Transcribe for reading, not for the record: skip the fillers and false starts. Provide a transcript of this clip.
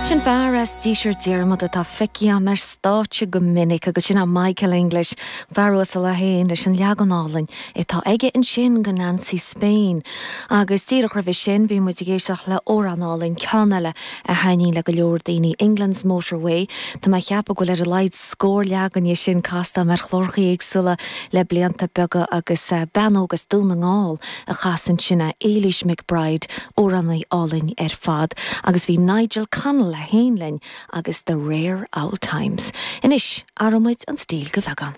Sin fear as Díseart Diarmuda atá feicthe agam ar stáitse go minic agus sin é Michael English, fear uasal é féin leis an leagan álainn atá aige ansin de Nancy Spain. Agus díreach roimhe sin bhí muid ag éisteacht le amhrán álainn, ceann eile a thaitníonn le go leor daoine, England's Motorway. Tá mé ag ceapadh go bhfuil ar a laghad scór leagan dhe sin casta agam ar chláracha éagsúla le blianta beaga agus bean óg as Dún na nGall a chas ansin é, Éilís McBride, amhránaí álainn ar fad, agus bhí Nigel Connell é féin linn agus The Rare Oul Times. Anois, athróidh muid an stíl go beagán.